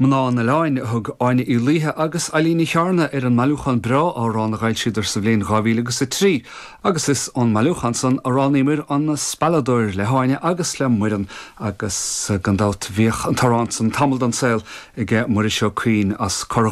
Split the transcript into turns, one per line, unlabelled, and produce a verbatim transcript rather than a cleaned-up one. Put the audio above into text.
Mná an Oileáin a thug Áine Uí Laoithe agus Eileen Ní Chearna ar an mbailiúchán breá amhrán a d'fhoilsíodar sa bhliain dhá mhíle agus a trí, agus is ón mbailiúchán san a roghnaíomar an Spealadóir le hÁine agus le Muireann agus gan dabht bhíodh an t-amhrán san tamall den saol ag Muiris Ó Cuinn as Cor